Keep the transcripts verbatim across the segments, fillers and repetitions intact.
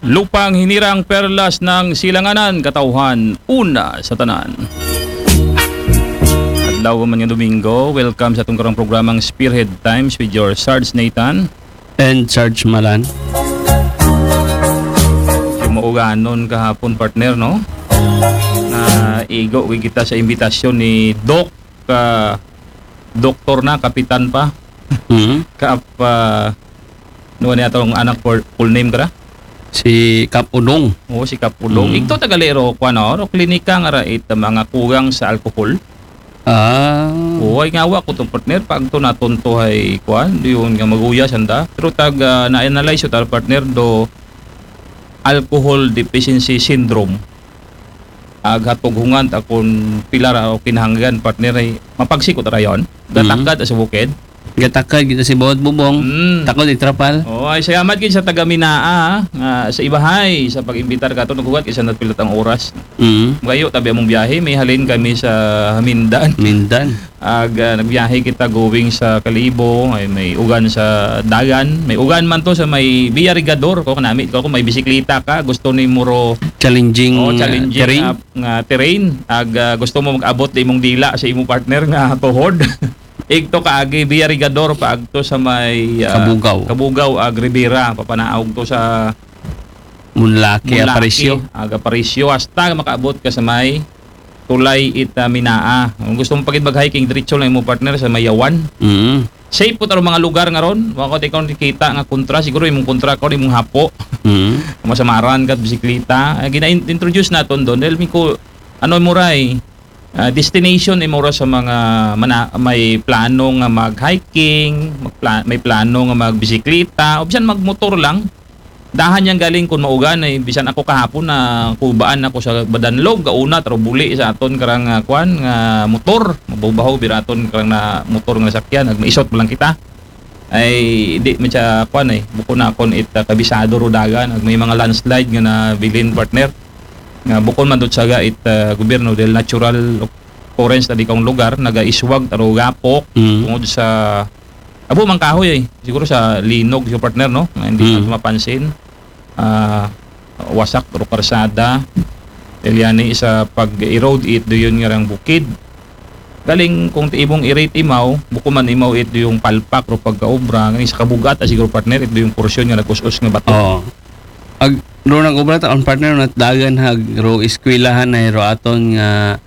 Lupang hinirang, perlas ng silanganan, katawhan, una sa tanan. Adlaw man nga Domingo, welcome sa atong karong programang Spearhead Times with your Sarge Nathan. And Sarge Malan. Yung mauganon kahapon, partner, no? Na igo kita sa imbitasyon ni Doc, ka doktor na, kapitan pa. Mhm. Kap, ah, ano niya atong anak, full, full name ka na? Si Kap Udong. Oo, si Kap Udong. Mm. Igto tagalero ko, ano, no, klinika nga ra it mga kugang sa alcohol. Ah. Oo, ay ngawa ko itong partner, pag to natunto ay kuan, yun nga maguya sanda. Pero tag, ah, na-analyze ta, partner, do alcohol deficiency syndrome. Ag hatog hungan ta kung pila ra o kinahanglan, partner, ay mapagsikot ra yon. Gatakad sa bukid. Gatakad kita si bawat bubong. Mm. Takod itrapal. Oh, ay salamat gid sa taga Minaa, ha, nga sa ibahay sa pag-imbitar kato, naghugat kay sa napilat ang oras. Mm. Magayo tabi among biyahe, may halin kami sa Hamindan. Mindan. Ag, ah, nagbiyahe kita going sa Kalibo, ay may ugan sa dagan, may ugan man to sa may Villa Rigador, ko kanami ko kung may bisikleta ka, gusto ni muro Challenging, oh, uh, challenging terrain. Nga, nga terrain. Ag, ah, gusto mo mag-abot di imong dila sa imong partner nga tuhod. Igto kaagi Villa Rigador pa agto sa may, ah, Kabugaw. Kabugaw, ag Ribera, papanaog to sa Munlaki, Mulaki, Aparicio. Ag Aparicio, hasta makaabot ka sa may tulay it, ah, Minaa. Kung gusto mo pagid mag-hiking, diretso lang imong partner sa Mayawan. Mm. Safe po taro mga lugar nga ron. Wa ko tikon kita nga kontra, siguro imong kontra ko imong hapo. Mm. Masamaran ka bisikleta. Ay, gina-introduce naton doon dahil mi ko ano mo ray, ah, destination ni mura sa mga mana-, may plano nga mag-hiking, magpla-, may plano nga magbisikleta, o bisan magmotor lang. Dahan yang galing kung maugan ay bisan ako kahapon na kubaan ako sa Badanlog, gauna taro buli sa aton karang, ah, kwan nga motor, mabaho-baho biraton karang na motor nga sakyan, nagmaisot pa lang kita. Ay di man siya kwan ay, bukon na akon it, ah, kabisado ro dagan, ag may mga landslide nga nabilin, partner. Nga bukon man dot saga it, ah, gobyerno dahil natural occurrence na di kang lugar, nagaiswag taro gapok Mm. tungod sa abo mang kahoy ay, siguro sa linog, yung partner, no? Nga hindi Mm. natin mapansin. Ah, wasak ro karsada. Eliani sa pag-erode it do yun nga rang bukid. Galing kung ti imong irit imaw, buko man imaw it do yung palpak ro pagkaobra, nga sa kabugat, ah, siguro partner, it do yung porsyon nga nag-us-us nga bato. Oo. Ag ro nag-obra ta ang partner na dagan hag ro eskwelahan na ro aton nga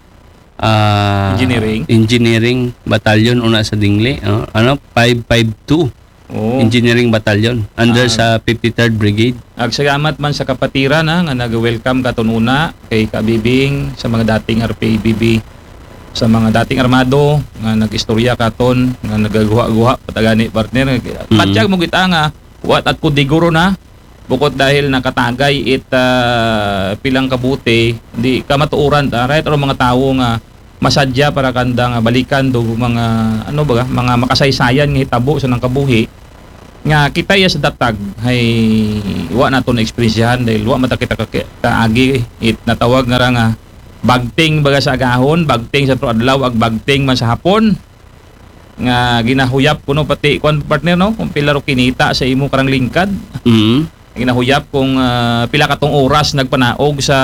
ah, Engineering? Engineering Battalion una sa Dingli, oh. Ano? Five five two Oo. Engineering Battalion under Ah. sa fifty-third Brigade. Ag salamat man sa kapatiran, ha, nga nag-welcome katon una kay Kabibing, sa mga dating R P A B B, sa mga dating armado nga nag-istorya katon, nga nagaguha-guha patagani, partner. Patyag mo kita nga, what at kudiguro na, bukod dahil nakatagay it, ah, pilang kabuti, di ka matuuran ta, right? Or mga tawo nga masadya para kanda nga balikan do mga, ano ba, mga makasaysayan nga hitabo sa nang kabuhi nga kita iya sa datag ay wa nato na eksperyensyahan dahil wa mata kita ka-, kaagi it natawag nga ra nga bagting baga sa agahon, bagting sa tulo adlaw, ag bagting man sa hapon nga ginahuyap kuno pati kwan, partner, no, kung pila ro kinita sa imo karang lingkad. Mm. Ginahuyap kung, ah, pila katong oras nagpanaog sa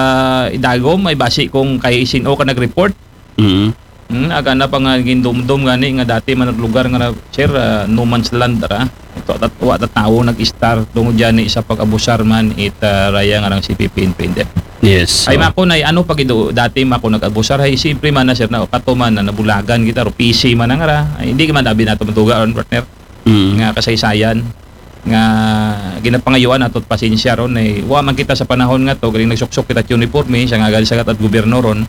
idagom ay basi kung kay sino ka nag-report. Mm. Hmm, aga na pa nga gindumdum gani nga dati man ang lugar nga na, sir, ah, no man's land ra. Ito at wa ta tawo nag-istar tungod gani sa pag-abusar man it, ah, raya nga rang C P P N P N D F. Yes. Ay So, mako na, ano pag ido dati mako nag-abusar ay siyempre man na, sir, na kato man na nabulagan kita ro P C man na nga ra. Ay, hindi man dabi nato matuga ron, partner. Mm. Nga kasaysayan nga ginapangayuan nato pasensya ron ay wa man kita sa panahon nga to galing nagsuksok kita uniforme sa ngagal sa at gobyerno ron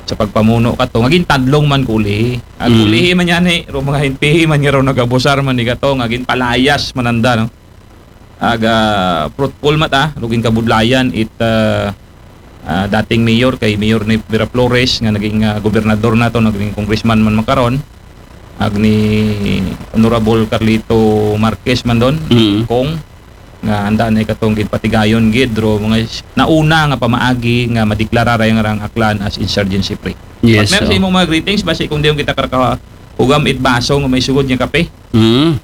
sa pagpamuno kato nga gintadlong man kuli. Ang Mm. kulihi man yan eh, ro mga N P A man nga ron nagabusar man ni kato nga ginpalayas mananda, no? Aga fruitful mata, ro ginkabudlayan it, ah, ah, dating mayor kay Mayor ni Vera Flores nga naging, ah, gobernador nato, naging congressman man makaron, ag ni Honorable Carlito Marquez man don, Mm. kung nga anda na katong gid patigayon gid ro mga s-, nauna nga pamaagi nga madeklara ra nga rang Aklan as insurgency free. Yes, Partner, so. Sa imong mga greetings, basi kung diyon kita karaka ugam it baso nga may sugod nga kape. Mm.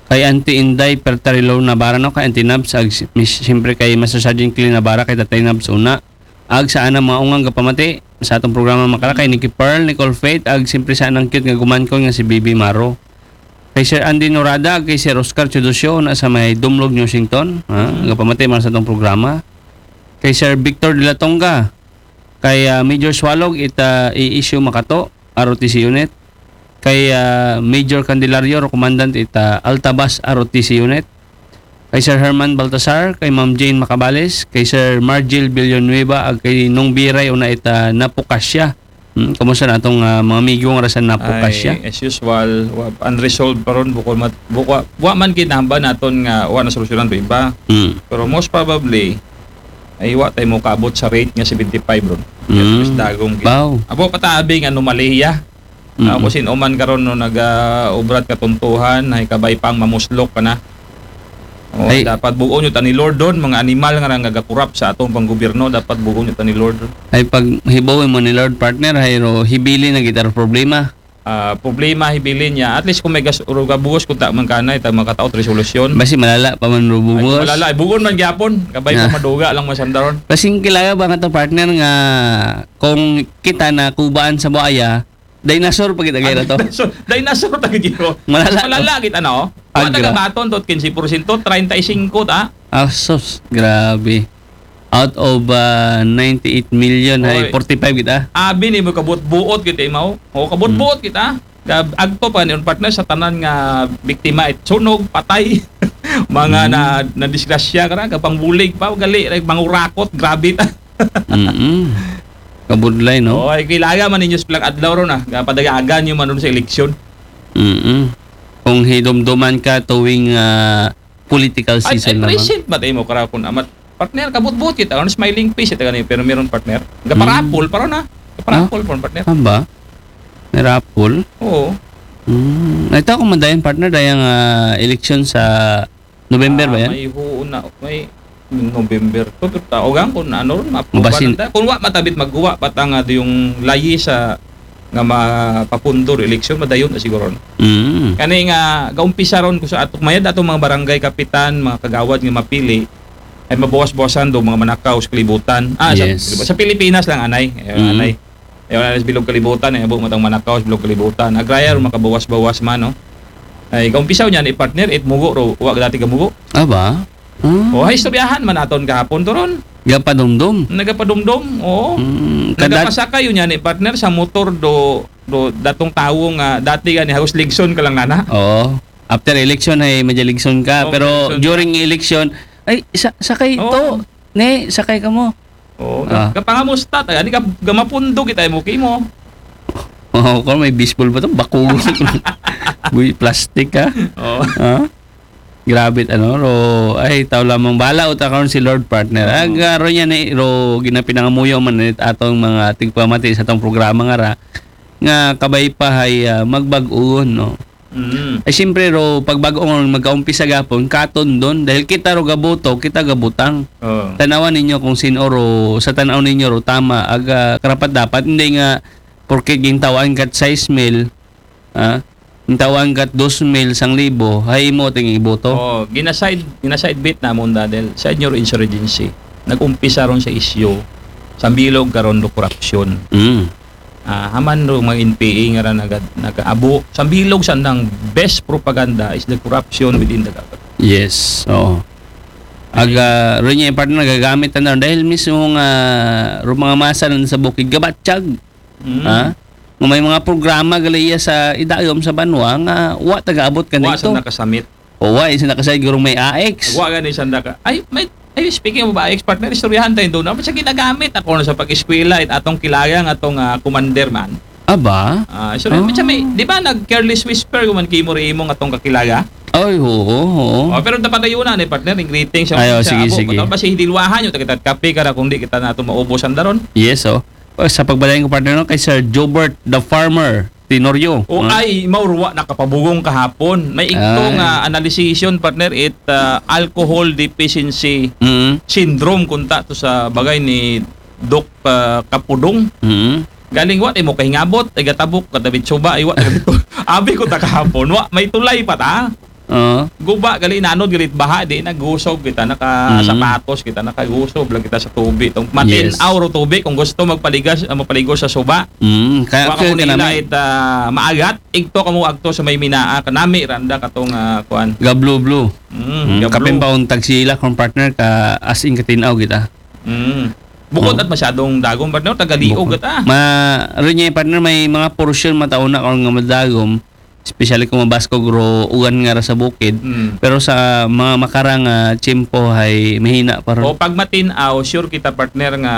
Kay Auntie Inday Pertarilo Navarra, no? Kay Auntie Nabs, ag si-, mis-, siyempre kay Master Sergeant Clean Navarra, kay Tatay Nabs una. Ag sa anang mga ungang gapamati sa atong programa, makala kay Nikki Pearl, Nicole Faith, ag siyempre sa anang cute nga gumankon nga si Bibi Maro. Kay Sir Andy Norada, ag kay Sir Oscar Chudosyo, na sa may Dumlog, Washington. Ha? Gapamati man sa atong programa. Kay Sir Victor de la Tonga, kay, ah, Major Swalog, ita i-issue makato, R O T C unit. Kay, ah, Major Candelario, Commandant, ita Altabas, R O T C unit. Kay Sir Herman Baltasar, kay Ma'am Jane Macabales, kay Sir Margil Villanueva, ag kay Nong Biray, una ita Napukasya. Hmm, kumusta na atong, ah, mga amigo nga ra sa Napukasya? Ay, as usual, wa, unresolved pa ron, bukod mat-, bukwa, wa man kinahamba naton nga wa na solusyonan to iba. Hmm. Pero most probably, ay wa tayo mo kaabot sa rate nga seventy-five ron. Mm. Mas dagong gid. Wow. Abo, patabi nga anomalya. Mm-mm. Ako sin-o man karon no naga-ubrat katuntuhan, ay kabay pang mamuslok ka na. O, ay, dapat buon yun ta ni Lord doon, mga animal nga nagakurap sa atong panggobyerno, dapat buon yun ta ni Lord. Ay, pag hibaw mo ni Lord, partner, ay ro, hibili na kita ro problema. Ah, problema, hibili niya. At least kung may gas-, ro gabuhos, kung ta man kanay, ta makataot resolusyon. Basi malala pa man ro buhos. Ay, malala. Ay, buon man gyapon. Kabay pa maduga lang masandaron. Kasi kilala ba nga to, partner, nga kung kita na kubaan sa buaya, dinosaur pa kita kay to. Dinosaur, dinosaur ta gid ko. Malala. Malala kita na, oh. Wala ka baton to, quince porsyento, treinta y cinco ta. Ah, sus, grabe. Out of, ah, ninety-eight million, ay, oy, forty-five kita. Abi ni mo kabot-buot kita, imaw. O, kabot-buot kita. Gab-, agto pa ni partner sa tanan nga biktima, it sunog, patay, mga na, na disgrasya ka na, kapangbulig pa, gali, like, mangurakot, grabe ta. Mm-mm. Kabudlay, no? O, ay, kailangan man ninyo sa pilang adlaw ron, ah. Kapadayagan nyo man ron sa eleksyon. Mm-mm. Kung hidumduman ka tuwing, ah, political season naman. Ay, present ba tayo mo, karakon, amat? Partner, kabutbut kita. Ano, smiling face, ito gani, pero meron partner. Gaparapol, para na. Gaparapol, partner. Aba? May raffle? Oo. Hmm. Ito akong madayan, partner, dayang, ah, eleksyon sa November ba yan? May huon na, may November. To, to, taogan kung ano ron, mapubasin. Kung wa matabit magguwa, patang nga yung layi sa nga mapapundor eleksyon, madayon na siguro, no? Mm. Kani nga, gaumpisa ron ko sa ato, mayad ato mga barangay kapitan, mga kagawad nga mapili, ay mabawas-bawasan do mga manakaw sa kalibutan. Ah, sa, yes, sa Pilipinas lang, anay. Eh, mm, anay. Eh, wala na sa bilog kalibutan, eh, abo matang manakaw sa bilog kalibutan. Agraya ron makabawas-bawas man, no? Ay, gaumpisa niya ni partner, it mugo ro, wa dati ka mugo. Aba? Ah. O, ay, istoryahan man aton kahapon to ron. Gapadumdum. Nagapadumdum, oo. Mm, kada- Nagapasakay yun yan, eh, partner, sa motor do, do datong tawo nga dati gani, halos ligson ka lang nana. Oo. After election ay medyo ligson ka, oo, pero ligson ka. During election, ay, sa-, sakay to. Oo. Ne, sakay ka mo. Oo. Ah. Kapangamusta, taga, di ka, gamapundo kita mo, kimo. Oo, kung may baseball ba to? Bakulo. Buy plastic, ha? Oo. Ha? Grabe, ano, ro, ay, tao lamang bala, uta karon si Lord, partner. Oo. Ag, ah, ro niya ni, ro, ginapinangamuyo man ni atong mga tigpamati sa atong programa nga ra, nga kabay pa hay, ah, magbag-on, no? Mm. Ay, siyempre, ro, pag bag-on, magkaumpisa gapon, katon doon, dahil kita ro gaboto, kita gabutang. Oo. Tanawan ninyo kung sino ro, sa tanaw ninyo ro, tama, ag, ah, karapat dapat, hindi nga, porke gintawaan kat sais mil, ah, Ang tawag kat dos mil, sang libo, hay imo ting iboto. Oh, ginaside, ginaside bit namon, Dadel, sa inyo insurgency. Nag-umpisa ron sa isyu, sa bilog karon do korupsyon. Mm. Ah, haman ro mga N P A nga ra nagad-, nag-abo. Sa bilog sa nang best propaganda is the corruption within the government. Yes, oo. Aga, ron niya yung partner nagagamit na dahil mismo nga ro mga masa na sa bukid, gabatyag. Mm. Ha? Nga may mga programa gali iya sa idayom sa banwa nga wa taga-abot kanito. Wa sa nakasamit. O wa, isa nakasamit gurong may A X. Wa gani sa naka-, ay, may, ay, speaking of A X, partner, istoryahan tayo doon. Ano sa ginagamit ako na sa pag-eskwela, it atong kilaga nga atong, ah, commander man. Aba? Ah, so, ah, may, di ba, nag-careless whisper ko man kimo ri imo nga atong kakilaga? Ay, oo, oo. Oh, pero dapat tayo na ni partner, yung greetings. Ay, oh, sige, sige. Basta hindi luwahan yung tagitat kape ka ra kung di kita nato maubos ang daron. Yes, oh. Oh, sa pagbadayon ko, partner, no, kay Sir Jobert the Farmer Tenorio. O, ah, ay, mao ro wa nakapabugong kahapon. May ikto nga analysis yun, partner, it, ah, alcohol deficiency syndrome, kunta to sa bagay ni Doc, ah, Kapudong. Mm. Galing wa, di mo kahingabot, ay gatabok, katabit suba, ay wa, abi ko ta kahapon, wa, may tulay pa ta. Oo. Guba gali, nanod gali it baha, di nagusog kita, naka Mm. sapatos kita, nakagusob lang kita sa tubi. Tong matin-aw Yes. ro tubi kung gusto magpaligas, ah, magpaligo sa suba. Mm, kaya Wa ka actually mo nila kanami it ah, maagat, igto ka mo agto sa may minaa, kanami randa katong ah, kuan. Gablo-blo. Mm, Mm, gablo. kapin pa untag sila kung partner ka as in katinaw kita. Mm. Bukod Oh. at masyadong dagom, partner, tagaliog Bukod. at ah. Ma, rin niya, partner, may mga portion mataon na kung nga madagom, especially kung mabaskog ro ugan nga ra sa bukid. Mm. Pero sa mga makarang ah, tiyempo ay mahina pa O ron. pag matin-aw, sure kita, partner, nga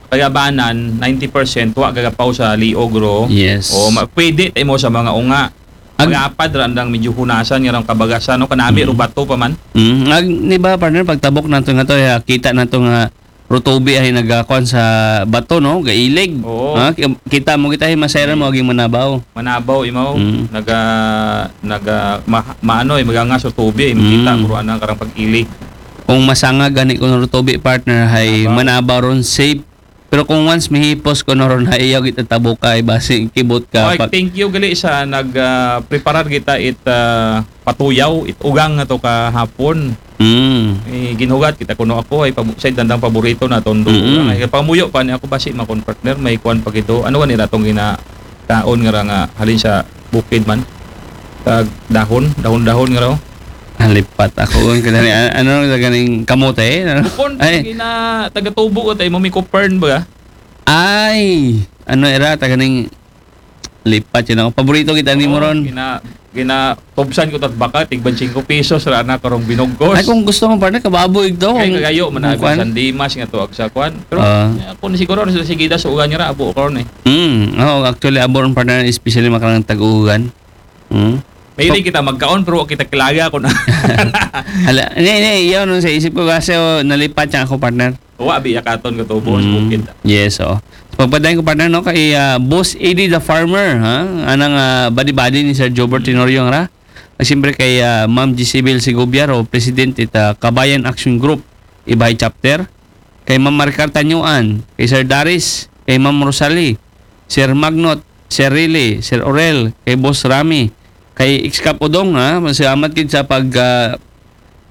kagabanan, ninety percent wa gagapaw sa liog ro. Yes. O ma- pwede tayo mo sa mga unga. Ag- Magapad ra andang medyo hunasan nga rang kabagasan, no? Kanami Mm. ro bato pa man. Mm, ag, di ba, partner, pagtabok nato nga to, ya, kita nato nga rutubi ay nagakuan sa bato, no? Gailig. Oo. Ha? Ki- Kita mo kita ay masayran mo aging manabaw. Manabaw imaw, Mm. naga naga ma, maano ay magangas o tubi ay makita Mm. mo ro anang karang pag-ilig. Kung masanga gani ko rutubi, partner, ay Manabaw. manabaw ron safe. Pero kung once mihipos ko no ron, ay iyaw kita tabuka ay basi kibot ka. Okay, Pag- thank you gali sa nag ah, preparar kita it ah, patuyaw, it ugang nga to kahapon. Mm. Eh, ginhugat kita kuno ako ay pabu- sa dandang paborito na tondo. Mm. Ay pamuyo pa ni ako basi makon, partner, may kuan pa gito. Ano gani ra tong gina kaon nga ra nga halin sa bukid man? Tag dahon, dahon-dahon nga ra. Halipat ako kung kanani, a- ano sa ganing kamote, ano? Bukon Ay. Gina tagatubo ko tayo mo mi kupern ba? Ay, ano era, taganing lipat yun ako. Paborito kita ni Oo, Moron. Gina gina tubsan ko tat baka tigban singko pesos ra na karong binugkos. Ay, kung gusto mo, partner, kababoy ito. Kay Kung- kagayo man kung abi kwan. San Dimas nga to ag sa kwan. Pero Ah. eh, ako ni siguro sa sigida sa ugan niya ra abo karon eh. Mm, oh, actually, abo ron, partner, especially makarang tag-ugan. Mm. Mahilig kita magkaon pero wa kita kilaga ko na. Hala, hindi, hindi, yun, nung sa isip ko kasi, oh, nalipat siya ako, partner. Wa bi yakaton ka tubo sa Mm, bukid. Yes, oh. So, pagpadayon ko, partner, no, kay ah, Boss Eddie the Farmer, ha? Anang ah, badi-badi ni Sir Jobert Tenorio, ra? At siyempre kay ah, Ma'am Gisibel Segovia, ro, President it ah, Kabayan Action Group, Ibay Chapter. Kay Ma'am Maricar Tanyuan, kay Sir Daris, kay Ma'am Rosalie, Sir Magnot, Sir Riley, Sir Orel, kay Boss Rami, kay Excap Udong, ha? Masalamat gid sa pag ah,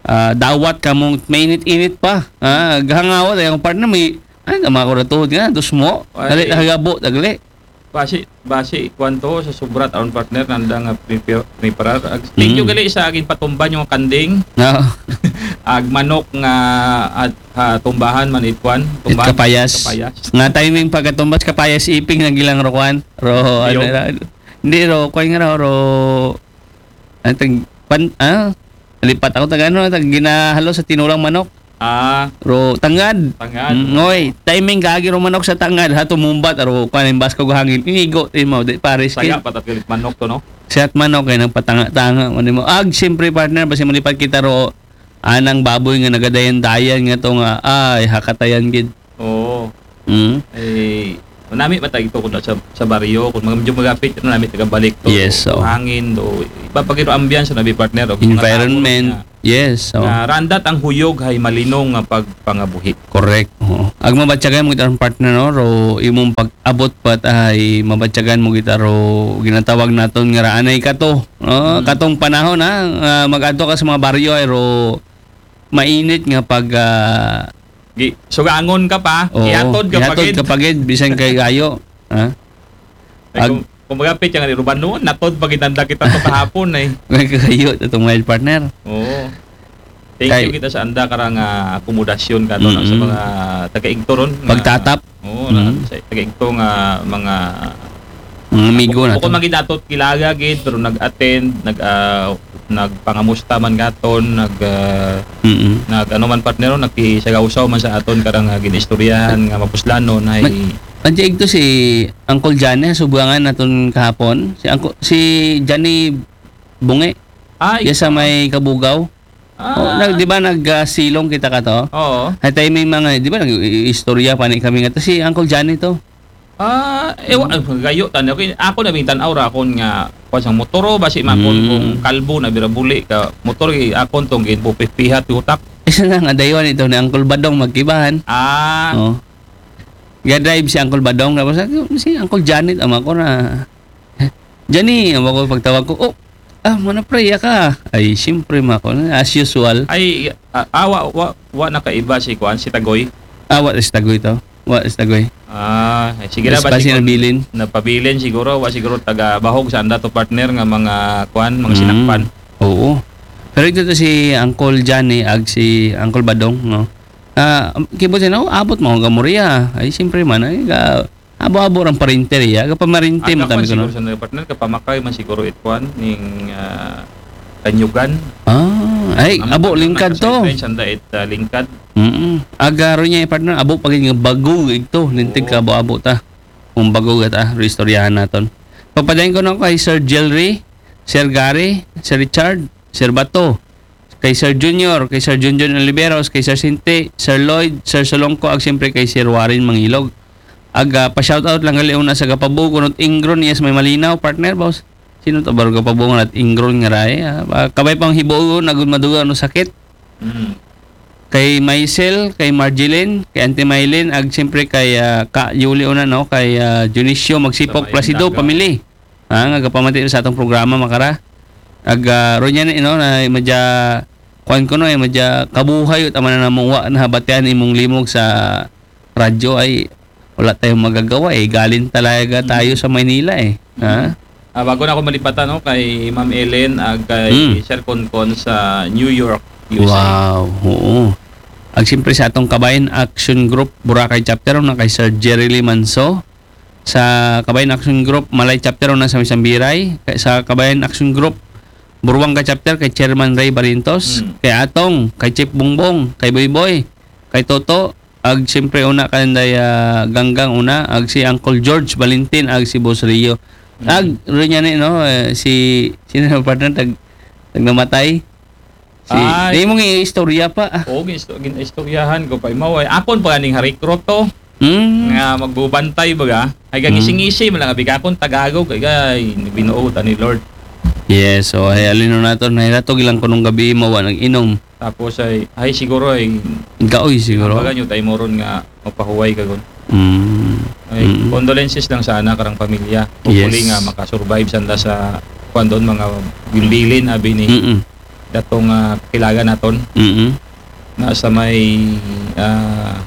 ah, dawat kamong mainit-init pa. Ha? Gahangawat ay ang partner may ay, tama ko na tuhod nga, dos mo. Ay. Dali, hagabo, dagli. Basi basi kwanto sa subrat aron, partner, nanda nga prepare preparar. Ag- Thank you Mm. gali sa aking patumban yung kanding. No. Ag manok nga at ah, tumbahan man itwan. It Tumbahan kapayas. Kapayas. Nga timing pagkatumbas kapayas iping na gilang ro kwan. Ro, ano Iyong. ra? Hindi ro, kwan nga ro, ro, ang tag, pan, ah? Lipat ako tag ano, tag ginahalo sa tinulang manok. Ah, Ro, tangad. Tangad. Mm, oy, timing kaagi ro manok sa tangad, ha, tumumbat, ro, kwan, yung basko hangin, inigo, di mo, di pares, saya kid. Patat galit manok to, no? Siya at manok, kay nagpatanga-tanga, mo, di mo. Ag, siyempre, partner, basi malipat kita ro, anang baboy nga nagadayan-dayan nga to nga, ay, hakatayan, gid. Oo. Mm. Eh, nami matag ito ko sa, sa baryo, kung mga medyo magapit, ano, nami taga balik to. Yes, to oo. Hangin, do. Ipapagiro ambiance na bi, partner, o mga Environment. tao na, Yes, so. Na randat ang huyog hay malinong nga pagpangabuhi. Correct. Oo. Ag mabatyagan mo kita ang partner, no? Ro, imong pag-abot pat ay mabatyagan mo kita ro ginatawag naton nga raanay kato. No? Mm. Katong panahon, ha, nga mag-adto ka sa mga baryo ay ro mainit nga pag ah, Gi, sugangon ka pa, oo, ihatod ka pa ihatod gid. ka pa gid, bisan kay gayo. Ha? Ay, Ag- kung, kung magapit yung ruban noon, natod pa gid nanda kita to kahapon eh. May kagayo itong wild partner. Oo. Thank Kay- you kita sa anda karang ah, akomodasyon ka to, no, sa Mm-mm. mga taga-igto ron nga- Pagtatap. Oo, na, Mm. sa taga-igto nga mga Mga amigo na bukod to. man gid nato kilaga gid, pero nag-attend, nag ah, nagpangamusta man gaton, nag ah, Mm-mm. nag ano man, partner, nagkisagawsaw man sa aton karang ah, ginistoryahan nga mapuslanon ay Mag- Ang tiig to si Uncle Johnny, subuangan naton kahapon. Si Uncle, si Johnny Bungi. Ay, Yes, sa may Kabugaw. Ah. Oh, nag, di ba nag ah, silong kita ka to? Oo. Ay, tayo may mga, di ba, nag-istorya pa ni kami nga to. Si Uncle Johnny to. Ah, ewa, ah, gayo tani. Okay, ako na bing tanaw ra akon nga kuan sang motor, o basi makon Mm. kung kalbo na birabuli ka motor, eh, akon tong ginpupipihat yung utak. Isa na nga, dayon ito ni Uncle Badong magkibahan. Ah, Oh. Ga-drive si Uncle Badong. Tapos, ah, si Uncle Janet, ama ko na. Johnny, ama ko pagtawag ko. Oh, Ah, manapriya ka. Ay, siyempre, mako. As usual. Ay, ah, ah, wa, wa, wa nakaiba si kuan, si Tagoy. Ah, wa si Tagoy to. Wa si Tagoy. Ah, ay, sige na Mas ba basi siguro nabilin. Napabilin siguro, wa siguro taga bahog sa anda to, partner, nga mga kuan, mga Mm. sinakpan. Oo. Pero ito to si Uncle Johnny ag si Uncle Badong, no? Ah, kibot siya, no? Abot mo ang gamuriya. Ay, siyempre man, ay, ga, abo-abo rang parinter, ya. Kapamarinte mo Aga tami pa ko, no? siguro sa partner, kapamakay man siguro itwan ning ah, Tanyugan. Ah, ay, Ang abo, ano, lingkad to. nagka-sideline sanda it ah, lingkad. Mm. Agaro niya, partner, abo pag yung bago ito. Lintig Oo. ka, abo-abo ta. Kung bago ta, istoryahan naton. Pagpadayon ko na kay Sir Jelry, Sir Gary, Sir Richard, Sir Bato, kay Sir Junior, kay Sir Junjun Oliveros, kay Sir Sinti, Sir Lloyd, Sir Solongko, ag siyempre kay Sir Warren Mangilog. Ag ah, pa-shoutout lang gali una sa Gapabugo, not Ingron, yes, may malinaw, partner, boss. Sino to, baro Gapabugo, not Ingron nga ray? Ah, ba- kabay pang hibuo, nagud maduga, no, sakit. Mm. Kay Maisel, kay Marjeline, kay Auntie Mylene, ag siyempre kay ah, Ka Yuli una, no, kay ah, Dionisio Magsipok, Sa Placido, Maynila. Family. Ah, nga gapamati sa atong programa, makara. Ag ah, ro niya ni, no, na madya, kuan ko, no, eh, madya kabuhay, tama na namuwa na habatian imong limog sa radyo, ay wala tayong magagawa, eh. Galing talaga tayo sa Maynila, eh. Ha? Ah, bago na ako malipatan, no, kay Ma'am Ellen ag kay Mm. Sir Concon sa New York, U S A. Wow, oo. Ag siyempre sa atong Kabayan Action Group Boracay Chapter, na kay Sir Jerry Limanso. Sa Kabayan Action Group Malay Chapter, na sa Misambiray. Kay sa Kabayan Action Group Buruanga Chapter, kay Chairman Ray Barintos. Mm. Kay Atong, kay Chief Bongbong, kay Boy Boy, kay Toto. Ag siyempre una kanday ah, Ganggang una, ag si Uncle George Valentin, ag si Boss Rio. Mm. Ag rin niya ni, no, eh, si, sino yung partner, tag, tag namatay? Si, Ay. Di mong istorya pa. Ah. Oo, gin-, gin-istoryahan ko pa. Imaw, ay, akon pa ganing harikroto Mm. nga magbubantay baga. Ay, Mm. gangisi-ngisi man lang, abi ka akon Tagalog, ay, ay, binuo ta ni Lord. Yes, so ay alino nato, nahiratog ilang kunong gabi, mawa nag-inom. Tapos ay, ay siguro ay, Gaoy siguro. Baga nyo tayo moron nga mapahuway ka gun. Mm. Ay, Mm. condolences lang sana karang pamilya. Hopefully Yes. nga makasurbide sanda sa kuan doon, mga bilbilin, abi ni Mm. datong ah, kakilagan naton Mm. na sa may ah,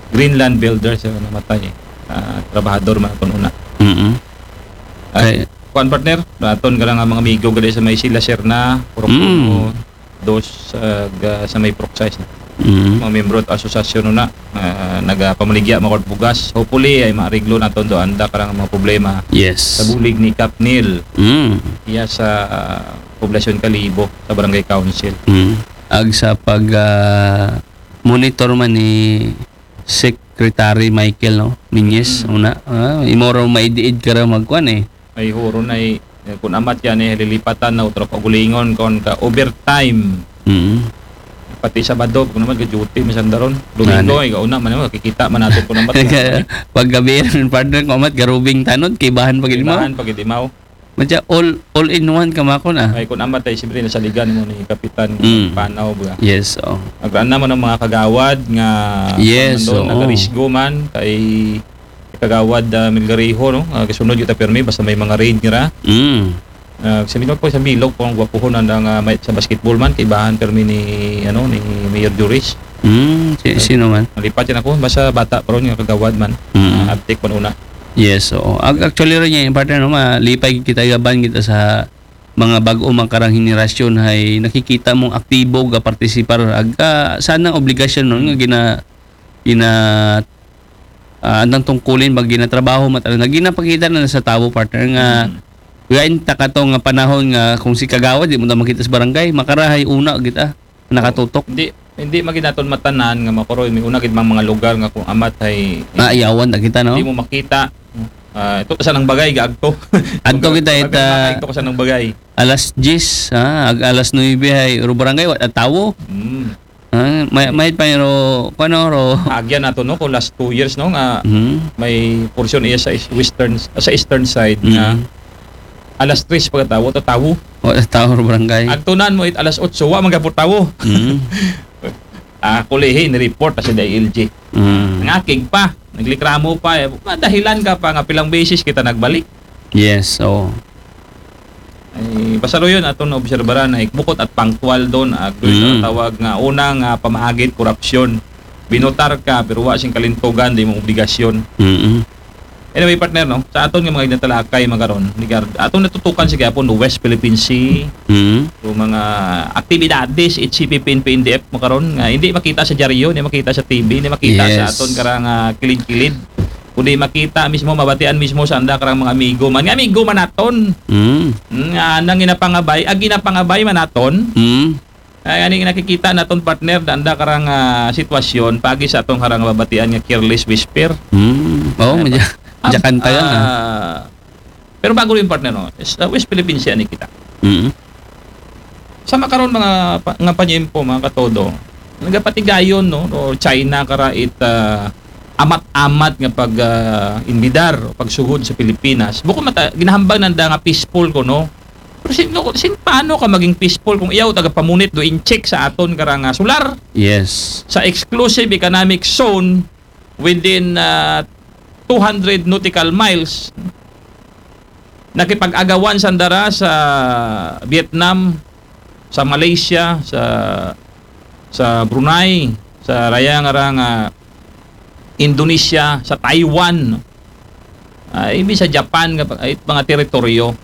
Greenland Builder sa namatay. Ah, trabahador man aton una. Mm. Ay, Kay- kuan, partner, aton ka nga mga amigo gali sa may Sila Serna, Purok Mm. Uno, dos, ah, ga- sa may Purok sais. Mm. Mga membro at asosasyon na ah, nagapamaligya mga bugas. Hopefully ay maariglo naton do anda karang mga problema Yes. sa bulig ni Cap Neil. Mm. Iya sa ah, Poblasyon Kalibo sa Barangay Council. Mm. Ag sa pag ah, monitor man ni Secretary Michael, no, Minyes, Mm. Una, ah, imoro maidiid ka ra magkuan, eh. Ay, huron ay eh, kun amat yan eh, lilipatan na utro kaugalingon kon ka overtime. Mm. Pati Sabado, kun amat ka duty, masandaron. Domingo, Ano? Ikaw na man, makikita man natin kun amat. Paggabi rin, partner, kung amat garubing tanod, kay bahan pag imaw. Kaibahan pag idimaw. Madya, all, all in one ka, mako na. Ay, kun amat ay siyempre nasaligan mo ni Kapitan Mm. Panaw ba? Yes, oh. Nagraan naman ang mga kagawad nga Yes, nandun, oo. nagarisgo man kay kagawad uh, Milgariho, no? Uh, kasunod yung permi basta may mga raid nira. Mm. Uh, sa Milog po, sa Milog po ang gwapuhon ang uh, may, sa basketball man, kaibahan permi ni, ano, ni Mayor Juris. Mm, si, sino man? Nalipat yan ako, basta bata pa ron yung kagawad man. Mm. Uh, abtik man una. Yes, oo. Ag- Actually rin niya, yung partner, no, malipay kita, yaban kita sa mga bago makarang henerasyon, hay nakikita mong aktibo ga partisipar. Ag, ah, sana obligasyon nun nga gina, gina, ah, andang tungkulin, mag ginatrabaho, matalan na ginapakita na sa tao, partner, nga Mm. gain ta ka to nga panahon nga kung si kagawad, di mo na makita sa barangay, makarahay una kita, nakatutok. Hindi, hindi maginaton matanan nga makuroy, may una gid mang mga lugar nga kung amat ay Ah, ayawan na kita, no? Hindi mo makita. Ah, ito ka sa nang bagay, gaagto. Adto kita, Pag- ita- ito ka sa nang bagay. Alas diyes, ha? Ag alas nuebe hay, ro barangay, wa tawo. Mm. Ha? May, may pa ro, kuno, ro. Agyan nato, no, kung last two years, no, nga Hmm. may portion iya sa is- western, sa eastern side nga Mm. alas tres pagkatawo, to tawo. Wa tawo ro barangay. Agtunan mo it alas otso, wa man gapon tawo. Mm. Ah, kulihi, ni-report na sa D I L G. Mm. Ngakig pa, naglikramo pa, eh. Madahilan ka pa nga pilang beses kita nagbalik. Yes, oo. Eh, pasaruyon aton obserbaran na bukod at pangtual don, ag doon Mm. sa tawag nga unang ah, pamaagit korupsyon. Binotar ka, pero wa sing kalintugan, di mo obligasyon. Mm. Anyway, partner, no? Sa aton nga mga ginatalakay, makaron, ni Gar-, atong natutukan sa gihapon, no? West Philippine Sea, Mm. yung mga aktibidades, H C P P N, P N D F, makaron, nga hindi makita sa dyaryo, hindi makita sa T V, hindi makita sa Yes. aton karang ah, kilid-kilid. Kundi makita mismo, mabatian mismo sa anda karang mga amigo man. Nga amigo man naton. Mm. Nga nang ginapangabay, ag ginapangabay man naton. Mm. Ay, ani nakikita naton, partner, da anda karang ah, sitwasyon, pagi sa atong karang babatian nga careless whisper. Mm. Oh, Ay, medyo, pa- medyo Ab-, kanta yan, ah. ah, pero bago rin, partner, no? Sa West Philippine Sea ni kita. Mm. Sa makaron mga pa, nga panyempo, mga katodo, nagapatigayon, no? O China kara it ah, amat-amat nga pag ah, imbidar o pagsugod sa Pilipinas. Bukod mata, ginahambal nanda nga peaceful ko, no? Pero sin, no, sin paano ka maging peaceful kung iyaw tagapamunit do in check sa aton karang ah, sular? Yes. Sa exclusive economic zone within ah, two hundred nautical miles, nakipag-agawan sandara sa Vietnam, sa Malaysia, sa sa Brunei, sa raya nga ra nga Indonesia, sa Taiwan, ah, ibi sa Japan nga pa- ay, mga teritoryo.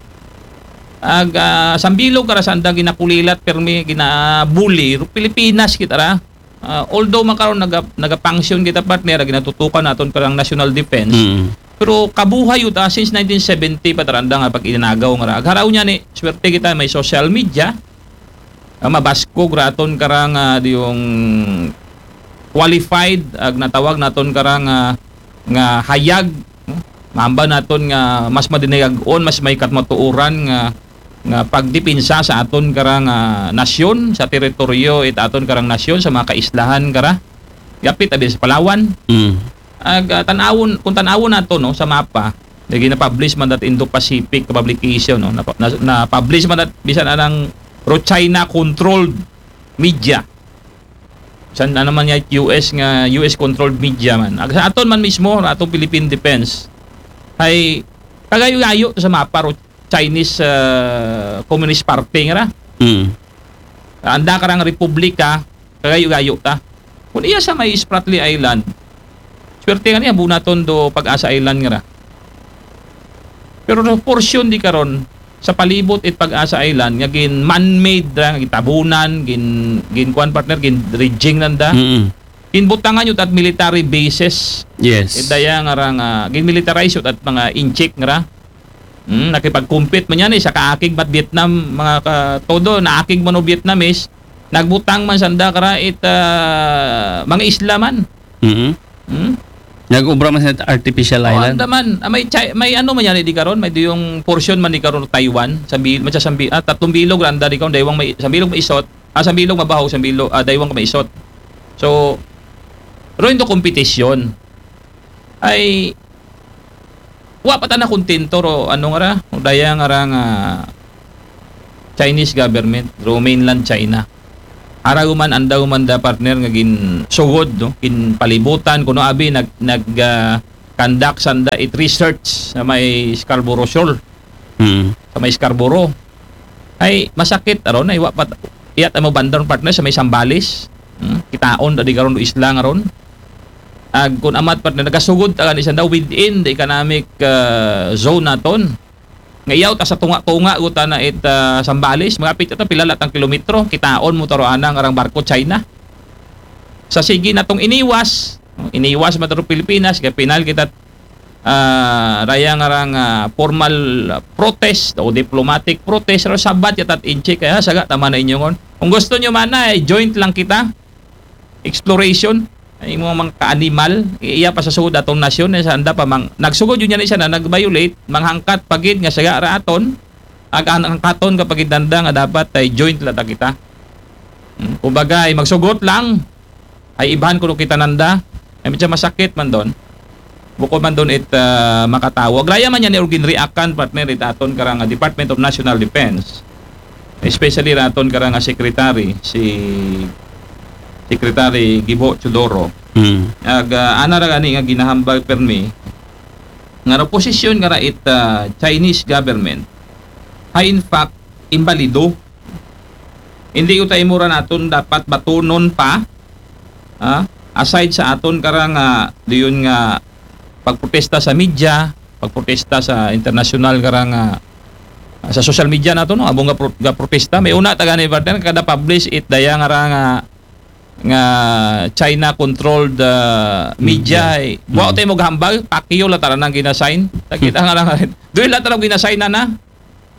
Ag ah, sambilog kara sanda ginakulilat, permi ginabuli ro Pilipinas kita ra. Ah, although makaron naga, nagapanksyon kita, partner, ag ginatutukan naton karang national defense. Mm. Pero kabuhay yuta since nineteen seventy pa taranda nga pag inanagaw nga ra. Agharaw niya ni, swerte kita may social media. Ah, mabaskog raton karang ah, di yung qualified, ag natawag naton karang ah, nga hayag, no? Maamba naton nga mas madinayag-on, mas may katmatuuran nga nga pagdepensa sa aton karang ah, nasyon, sa teritoryo it aton karang nasyon, sa mga kaislahan kara. Yapit abi sa Palawan. Mm. Ag ah, tanawon, kung tanawon nato, no, sa mapa, lagi na-publish man that Indo-Pacific publication, no, na, na, na-publish man that bisan anang ro China controlled media. San ano man niya U S nga U S controlled media man. Ag sa aton man mismo, atong Philippine Defense, ay kagayo-gayo to sa mapa ro Chinese ah, Communist Party nga ra. Mm. Anda karang republika, kagayo-gayo ta. Kung iya sa may Spratly Island, swerte nga niya, bunaton do Pag-asa Island nga ra. Pero sa portion di karon, sa palibot it Pag-asa Island, nga gin man-made ra, nga gitabunan, gin, gin kuan, partner, gin dredging nanda. Mm. Ginbutangan yun at military bases. Yes. Idaya nga ra nga, gin militarize yun at mga incheck nga ra. Hmm, nakipag-compete man yan eh, sa kaakig mat Vietnam, mga ka, todo, naakig man o Vietnamese, nagbutang man sanda kara it ah, mga isla man. Mm. Hmm? Nag-ubra man sa artificial O, island. anda man. Ah, may, Chi- may ano man yan eh, di karon, may di yung portion man di karon Taiwan, sambi, may sambi, ah, tatlong bilog ra anda di karon, daywang may, sambilog may isot, ah, sambilog mabaho, sambilog, ah, daywang may isot. So, ro into competition. Ay, wa pa ta na kontento ro, ano nga ra, o daya nga ra nga Chinese government, ro mainland China. Araw man, andaw man da partner nga gin sugod, no? Gin palibutan, kuno abi nag, nag ah, conduct sanda it research sa may Scarborough Shoal. Mm. Sa may Scarborough. Ay, masakit, aron, ay, wa pa, iyat mo bandang partner sa may Sambales. Hmm? Kitaon, da di karon do isla nga ron. Ag, kung amat partner, nagasugod ta gani sanda within the economic ah, zone naton. Nga iyaw ta sa tunga-tunga, guta na it ah, Sambales, mga pito ta, pila latang kilometro, kitaon mo taro anang arang barko China. Sa sige natong iniwas, iniwas man taro Pilipinas, kaya pinal kita ah, raya nga ra nga formal ah, protest o diplomatic protest, ro sabat yatat inchi kaya saga tama na inyo ngon. Kung gusto nyo man na, eh, joint lang kita. Exploration, ay mga, mga ka-animal, iya pa sa sugod atong nasyon, eh, sa anda pa mang, nagsugod yun yan isa na nag-violate, manghangkat pagid nga saga ra aton, ag ang hangkaton ka pagid nanda nga dapat ay joint lang ta kita. Hmm, kumbaga, ay magsugot lang, ay ibahan kuno kita nanda, ay medyo masakit man don. Bukod man don it ah, makatawo. Agraya man yan ni Urgin Reakan, partner, it aton karang ah, Department of National Defense. Especially raton karang ah, secretary, si Secretary Gibo Teodoro. Mm. Ag ah, ana ra gani nga ginahambal permi nga ro posisyon nga ra it ah, Chinese government. Hay in fact, imbalido. Hindi ko tayo mura naton dapat batunon pa, ah, aside sa aton karang, ah, diyon nga pagprotesta sa media, pagprotesta sa international karang, ah, sa social media nato, no, amo nga pro-, nga protesta. May una ta gani, partner, kada publish it daya nga ra nga, nga China controlled, ah, media. Media. Eh, wa Mm. tayo maghambal, Pacquiao la tara nang ginasign. Takita nga ra nga. Doon la tara ginasign na na.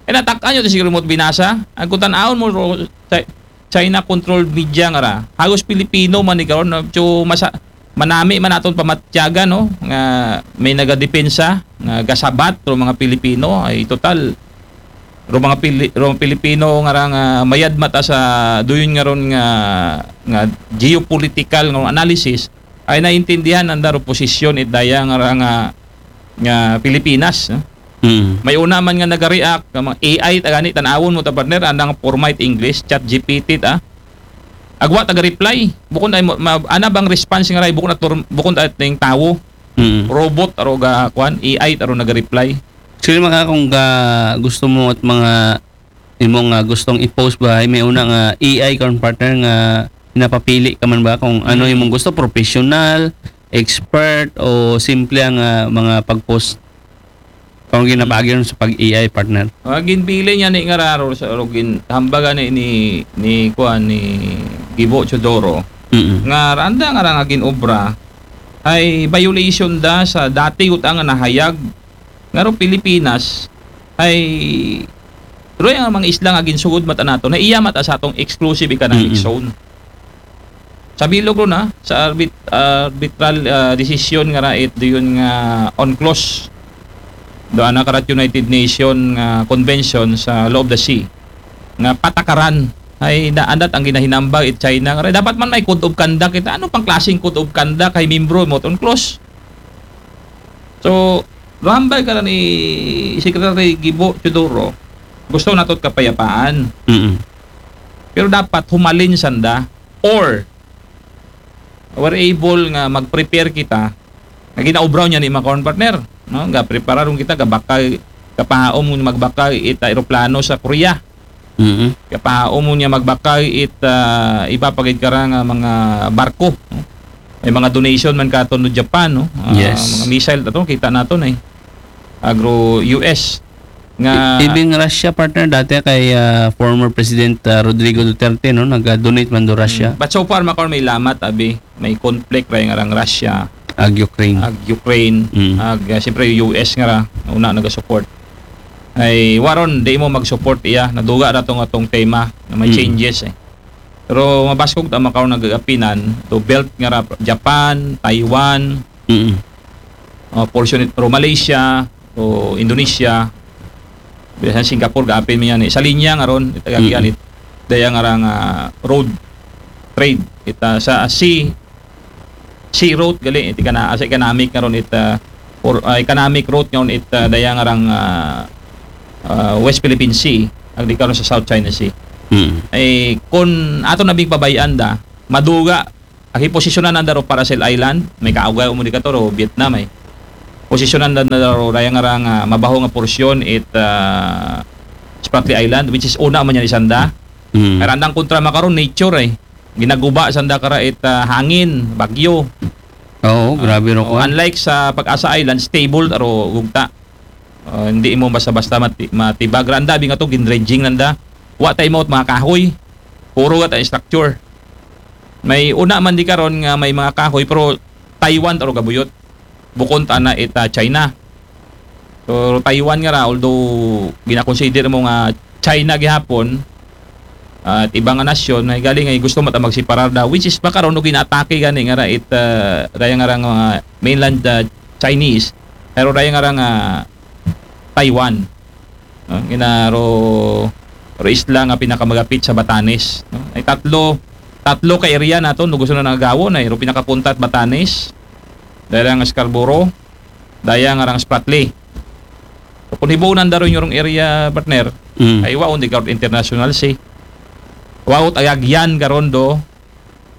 Eh, natak-an nyo, siguro mo binasa. Ang kutan-aon mo, ro-, Chi-, China-controlled media nga ra. Halos Pilipino man ni karon, no? So, masa-, manami man aton pamatyagan, no? Nga may nagadepensa, nga gasabat, ro mga Pilipino, ay total. Ro mga Pili-, ro mga Pilipino nga ra nga mayad mata sa duyon nga ron nga, nga geopolitical nga analysis, ay naintindihan ang daro posisyon it daya nga ra nga, nga Pilipinas, no? Mm. May una man nga nagareact, nga mga A I, tagani, tanawon mo ta, partner, andang format English, chat G P T ta. Agwa taga-reply. Bukon ay mo-, ma-, ana bang response nga ray, bukon at tur-, bukon at ning tawo. Mm. Robot, aro ga, kwan, A I, aro naga-reply. Sino maka kung ga-, gusto mo at mga imo nga gustong i-post ba, ay may una nga A I karon, partner, nga napapili ka man ba kung ano Mm. imong gusto, professional, expert, o simple ang, ah, mga pag-post? Kung ginapagi ron sa pag-A I, partner. Ah, ginpili niya ni nga raro sa, o gin-, hambaga ni, ni, ni, kuan, ni Gibo Teodoro. Mm. Nga randa nga ra nga ginobra ay violation da sa dati utang nga nahayag nga ro Pilipinas ay ro ang mga isla nga ginsugod mata nato na iya mata sa atong exclusive economic Mm-mm. zone. Sa bilog ro na, sa arbit-, arbitral, ah, desisyon nga rait doon nga UNCLOS, do ana karat United Nation nga convention sa Law of the Sea, nga patakaran, ay naandat ang ginahinambag it China. Nga dapat man may code of conduct. Ita, ano pang klaseng code of conduct kay membro mo UNCLOS? So, rambay ka na ni Secretary Gibo Teodoro, gusto nato kapayapaan. Mm-mm. Pero dapat humalin sanda or we're able nga mag-prepare kita, nga ginaobraw niya ni Macron, partner, no? Nga prepararon kita, gabakal, kapahaom nga magbakal it aeroplano sa Korea. Mm-hmm. Kapahaom mo niya magbakal it, ah, iba pa gid kara nga mga barko, no? May mga donation man katon no Japan, no? Ah, Yes. mga missile ato, kita naton eh. Agro U S nga I-, even Russia, partner, dati kay, ah, former President, ah, Rodrigo Duterte, no, nag-donate man do Russia. Mm. But so far, Macron, may lamat, abi, may conflict ra nga rang Russia, Ag Ukraine. ag Ukraine, Mm. ag, ah, siyempre, U S nga ra, una nagasupport. Ay, waron, di mo mag-support iya, naduga ra tong atong tema na may Mm. changes eh. Pero mabaskog ta makaw nag-apinan, to belt nga ra, Japan, Taiwan, Mm. uh, portion it-, ro Malaysia, o Indonesia, bisan Singapore, gaapin mi yan eh. Sa linya nga ron, itagag yan, Mm. it-, daya nga ra nga road trade. Ita sa sea, sea route, gali, iti kana, as economic nga ron, it, uh, or, uh, economic route nga ron, it, uh, daya nga rang, uh, uh, West Philippine Sea, ang di karon sa South China Sea. Mm. Ay, kung ato na bing pabayaan da, maduga, ang hiposisyonan nanda ro Paracel Island, may kaaway mo di ka to, ro Vietnam, ay. Posisyonan nanda ro, raya nga rang, ah, mabaho nga porsyon, it, ah, Spratly Island, which is una man yan isanda. Mm. Kaya randang kontra makaron, nature, ay. Ginaguba sanda kara it, ah, hangin, bagyo. Oo, Ah, grabe ro oh, ko. Unlike sa Pag-asa Island, stable, aro gugta. Ah, hindi mo basta-basta mati-, matibag. Randa, bing ato, gin-dredging nanda. Wa tayo mo mga kahoy. Puro nga tayo structure. May una man di karon nga may mga kahoy, pero Taiwan taro gabuyot. Bukon ta na ita China. So, Taiwan nga ra, although ginakonsider mo nga China gihapon, at iba nga nasyon, ay galing ay gusto mo ta magseparar da, which is makaroon og ginaatake gani nga ra it, ah, raya nga ra nga mainland, ah, Chinese, pero raya nga ra nga Taiwan. No? Gina ro, ro isla nga pinakamagapit sa Batanes. No? Ay tatlo, tatlo ka area nato, no, gusto na nagawon, ay ro pinakapunta at Batanes, dahil ang Scarborough, daya nga rang Spratly. So, kung hibunan da ron yung area, partner, Mm. ay waon di ka international sea. Waot ayagyan karon do,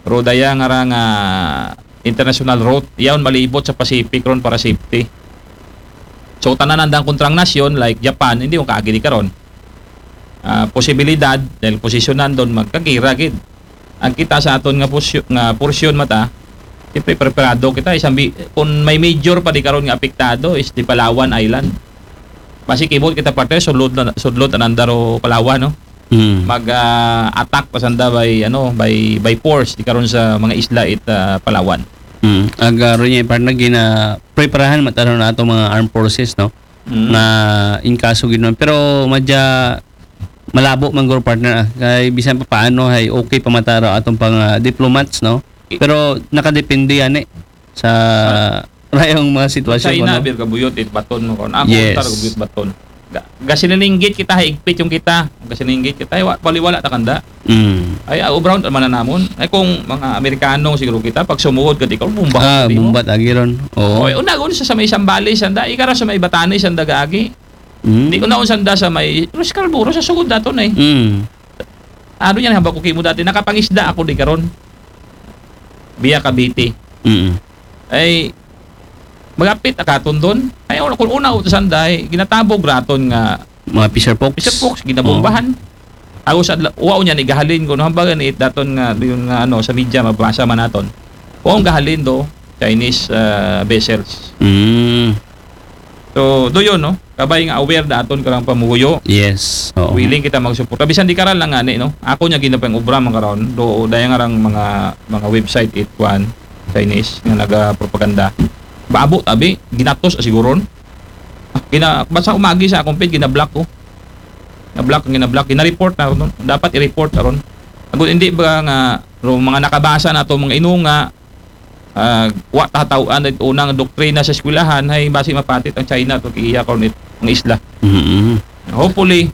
ro daya nga rang, ah, international route. Yaon malibot sa Pacific ron para safety. So, tanan andang kontrang nasyon, like Japan, hindi mo kaagi di karon. ah, posibilidad, dahil posisyonan doon, magkagira gid. Ang kita sa aton nga pusyo-, nga porsyon mata, siyempre preparado kita, isang bi-, kung may major pa di karon nga apektado is di Palawan Island. Basi kibot kita, partner, sudlot na, sudlot ananda ro Palawan, no? Mm. Mag, ah, attack pa sanda by, ano, by, by force di karon sa mga isla it, ah, Palawan. Mm. Ag, ah, ro niya, partner, gina preparahan mata ron na atong mga armed forces, no? Mm. Na in kaso gid man. Pero madya malabo man guro, partner, ah. Kay bisan pa paano ay okay pa mata ro atong pang, ah, diplomats, no? Pero nakadepende yan eh sa rayong mga sitwasyon China, mo, no? Bir, kabuyot it baton mo kon. Ako, Yes. Tar, kabuyot baton. Ga-, gasininggit kita, higpit yung kita. Gasininggit kita, wa-, baliwala ta kanda. Mm. Ay, ah, ubraw ta man na namon. Ay, kung mga Amerikano siguro kita, pag sumuod ka, di ka, bumba. Ah, di mo. Bumbat agi ron. Oo. Oy, una, una sa may Sambales, sanda. Ikara sa may Batanes, sanda gaagi. Mm. Di una, sanda sa may Los Calburos, sa sugod daton eh. Mm. Ano yan, hambal ko kimo dati, nakapangisda ako di karon. Via Cavite. Mm. Ay, magapit akaton doon. Ay, una, kung una, utusan dahi, ginatabog raton nga Mga fisher folks. Fisher folks, ginabombahan. Ako sa adla-, wa niya ni gahalin ko, no, hambal ni daton nga, yun nga, ano, sa media, mabasa man naton. Wa ang gahalin do, Chinese, ah, vessels. Mm. So, do yun, no? Kabay nga aware da aton karang pamuyo. Yes. Oo. Willing kita magsuporta. Bisan di karal lang ani, no? Ako niya ginapang obra man karon. Do, daya nga rang mga, mga website it kwan, Chinese, nga nagapropaganda. Babo, tabi, ginatos, asiguron. Ah, gina, basta umagi sa akong page, gina-block ko. Na-block, gina-block, gina-report na ron. Dapat i-report na ron. Agon, hindi ba nga, ro, mga nakabasa na to, mga inunga, ah, wa tataw-an it unang doktrina sa eskwelahan, ay basi mapatit ang China to, kiya ko nit, ang isla. Mm. Hopefully,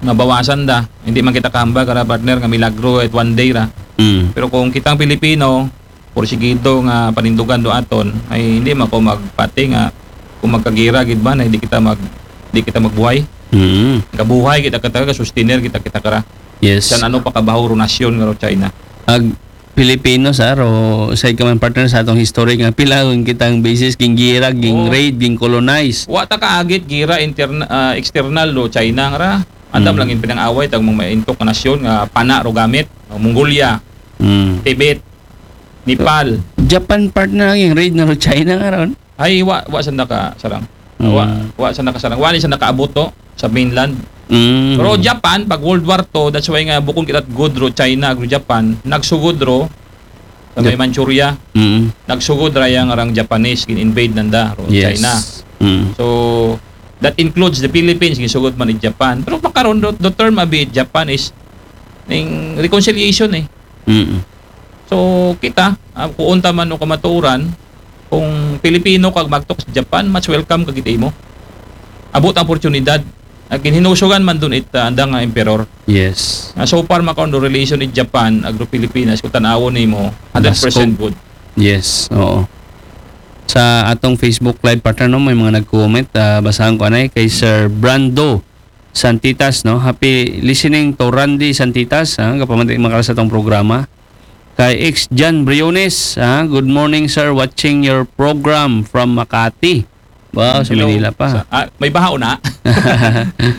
mabawasan da. Hindi man kita kahambal, kara partner, nga milagro at one day ra. Mm. Pero kung kitang Pilipino, porsigido nga panindugan do aton, ay hindi man ko magpati nga kung magkagira gid ba na hindi kita mag, di kita magbuhay. Mm. Kabuhay kita, kita, sustainer kita, kita kara. Yes. San ano pa kabaho ro nasyon nga ro China. Ag Pilipino, sir, o sa ka man, partner, sa atong history nga pila ang kitang basis, ging gira, ging Oo. raid, ging colonize. Wa ta kaagit gira interna-, ah, external do China nga ra. Andam Mm. lang yung pinang-away tag mga maintok nga nasyon nga pana ro gamit, Mongolia, Mm. Tibet, Nepal. Japan, partner, ang raid na ro China nga ron. Ay, wa, wa sa naka sarang. Mm. Wa, wa sa naka sarang. Wa ni sa nakaabot to sa mainland. Mm. Pero Japan, pag World War Two, that's why nga bukon kita good ro China, ag ro Japan, nagsugod ro sa may Jap- Manchuria, Mm. nagsugod ra yang arang Japanese, gin-invade nanda ro Yes. China. Mm. So, that includes the Philippines, ginsugod man ni Japan. Pero makaron, the, the term abi Japan is ning reconciliation eh. Mm. So, kita, ah, kung unta man o kamatuoran, kung Pilipino kag magtok sa Japan, mas welcome ka gid imo. Abot ang oportunidad. Ag ginhinusugan man dun it, ah, anda nga emperor. Yes. Nga so far makaon do relation it Japan, agro Pilipinas, kung tanawon nimo, hundred percent good. Yes, oo. Sa atong Facebook Live, partner, no, may mga nag-comment, ah, basahan ko anay kay Sir Brando Santitas, no. Happy listening to Randy Santitas, ha, kapamati makara sa atong programa. Kay X Jan Briones, ha, "Good morning, sir. Watching your program from Makati." Wow, sa Hello. Manila pa. Sa, ah, may baha na.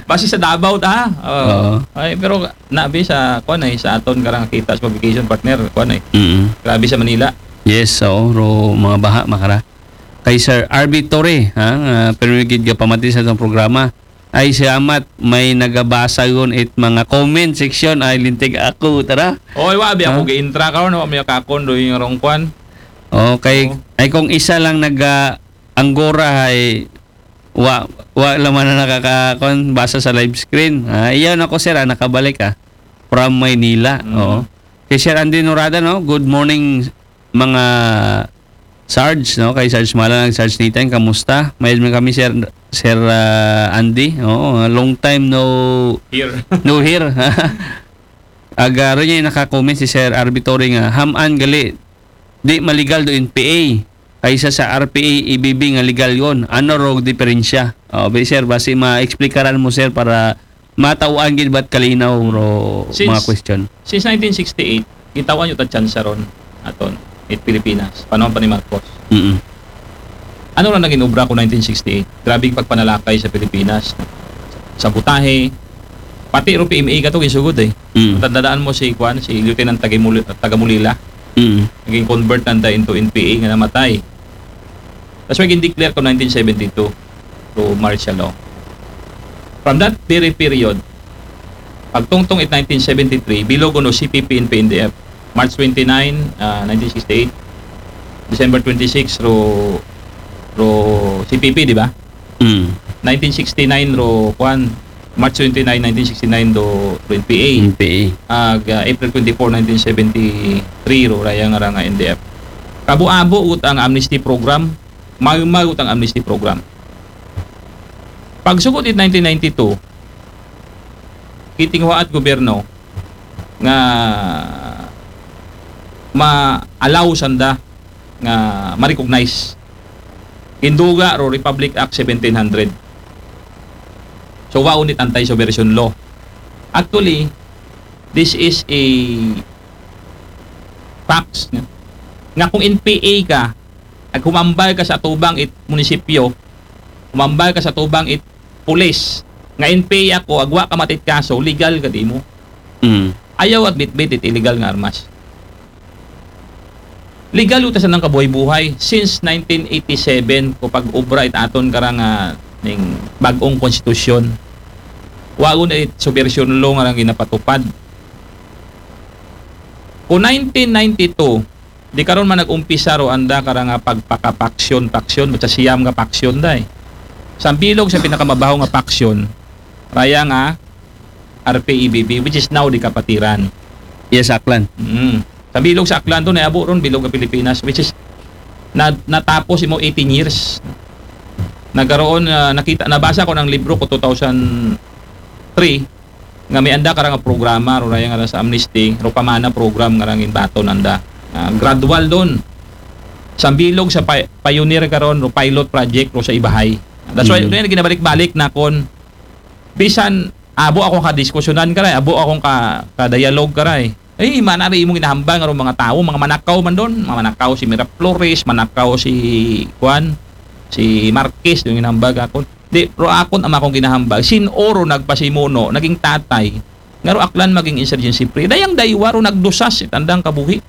Basi sa Davao ta. Oo. Oo. Ay, pero nabi sa kuan ay sa aton karang kita sa publication partner kuan ay. Mm. Grabe sa Manila. Yes, oo, ro mga baha makara. Kay Sir R B Torre, ha, nga pirmi gid nga pamati sa atong programa. Ay, salamat, may nagabasa yun it mga comment section, ay lintig ako, tara. Oy, wa bi ako Ha? gi-intra karon, wa mi kakon do yung rong kuan. Okay, Oo. Ay kung isa lang nag ah, Anggora ay wa wa lang man na nakaka kon basa sa live screen. Ah, iyan ako, sir, ah, nakabalik, ah, from Maynila. Mm. Oo. Kay Sir Andy Norada, no? "Good morning, mga Sarge," no? Kay Sarge Malang, Sarge Nathan, kamusta? Mayad man kami, Sir, Sir, ah, Andy. Oo, long time no Here. no hear. Agaro niya naka-comment si Sir R B Torre nga, "Ham-an gali, di maligal do N P A. Kaysa sa R P A, E B B nga legal yon. Ano ro diferensya?" Oh, be, sir, basi ma-explikaran mo, sir, para matawaan gid bat kalinaw ro Since- mga question. Since nineteen sixty-eight, gitawan yung ta chance ron aton it Pilipinas. Panahon pa ni Marcos. Mm. Ano lang naging obra ko nineteen sixty-eight? Grabing pagpanalakay sa Pilipinas. Sabotahe, Pati ro P M A kato, ginsugod eh. Mm. Tandaan mo si, kuan, si Lieutenant Tagamuli-, Tagamulila. Mm. Naging convert nanda into N P A nga namatay. That's why gin-declare ko nineteen seventy-two to martial law. From that very period, pagtungtong it nineteen seventy-three, bilog kuno C P P N P N D F. March twenty-nine, ah, nineteen sixty-eight. December twenty-six, ro, ro C P P, di ba? Mm. Nineteen sixty-nine, ro, kuan, March twenty-nine, nineteen sixty-nine, do, ro N P A. N P A. Ag, ah, April twenty-four, nineteen seventy-three, ro, raya nga ra nga N D F. Abo-abo gud ang amnesty program, maymay gud ang amnesty program. Pagsugod it nineteen ninety-two, gitinguha it gobyerno nga ma-allow sanda nga ma-recognize. Ginduga ro Republic Act seventeen hundred. So, wa unit anti-subversion law. Actually, this is a facts nga, nga kung N P A ka, ag humambal ka sa atubang it munisipyo, humambal ka sa atubang it pulis, nga N P A ako, ag wa ka matitkaso, legal gad imo. Mm. Ayaw at bitbit it illegal nga armas. Legal uta sa nang kabuhay-buhay since nineteen eighty-seven ko pag-obra it aton karang, ah, ning bag-ong konstitusyon. Wa gud it subversion law nga rang ginapatupad. Ko nineteen ninety-two, di karon man nag-umpisa ro anda karang, ah, pagpakapaksyon-paksyon, basta siyam nga paksyon day. Sa bilog sa pinakamabaho nga paksyon, raya nga R P E B B, which is now the Kapatiran. Yes, Aklan. Mm. Sa bilog sa Aklan to, naabo ron, bilog nga Pilipinas, which is na, natapos imo eighteen years. Nagkaroon, ah, nakita, nabasa ko ng libro ko two thousand three, nga may anda karang programa, ro raya nga sa amnesty, ro pamana program nga rang inbaton anda. Ah, gradual don. Sa bilog sa pi-, pioneer karon, ro pilot project, ro sa Ibahay. That's why, Mm. rin ginabalik-balik na kon bisan abo akong kadiskusyonan karay, abo akong ka, ka-dialogue karay. Eh, manari imong ginahambal nga ro mga tao, mga manakaw man don, mga manakaw si Miraflores, manakaw si, kuan, si Marquez, yung ginahambal akon. Di, ro akon ama kong ginahambal, sin-o ro nagpasimuno, naging tatay, nga ro Aklan maging insurgency free. Dayang daywa ro nagdusas, it andang kabuhi.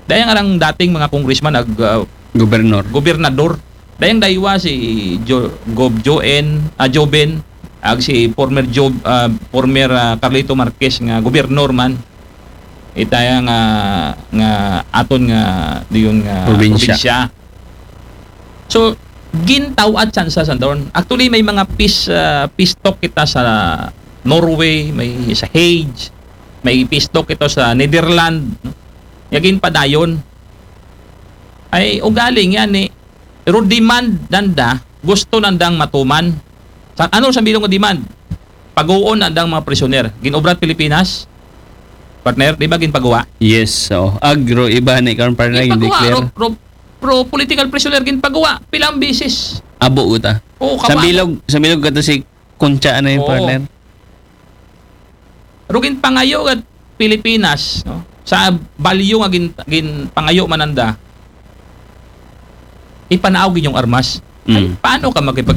Dayang arang dating mga congressman, ag, ah, Gobernador. gobernador. Dayang daywa si Jo-, Gov Joen, ah, Joven, ag si former Job, ah, former, ah, Carlito Marquez nga gobernador man. Itaya nga, nga aton nga diyon nga Probinsya. probinsya. So, gintaw-ad san sa Sandaron. Actually, may mga peace, ah, peace talk kita sa Norway, may sa Hague, may peace talk ito sa Netherlands, no? Nga ginpadayon. Ay, ugaling yan eh. Pero demand nanda, gusto nandang matuman. Sa, ano sa bilog nga demand? Paguon nandang mga prisoner. Ginobrat Pilipinas, partner, di ba ginpaguwa? Yes, so ag ro iba ni karon, partner, Ginpaguwa, declare. Ro, ro, ro political prisoner, ginpaguwa. Pilang bisis. Abo gud ta. Oo, Sa kawa. bilog, sa bilog kato si Concha na yung, Oo. Partner. Pero ginpangayo gad Pilipinas, no? Sa balyo nga gin, ginpangayo man nanda, ipanaaw gid yung armas. Ay, Mm. paano ka makipag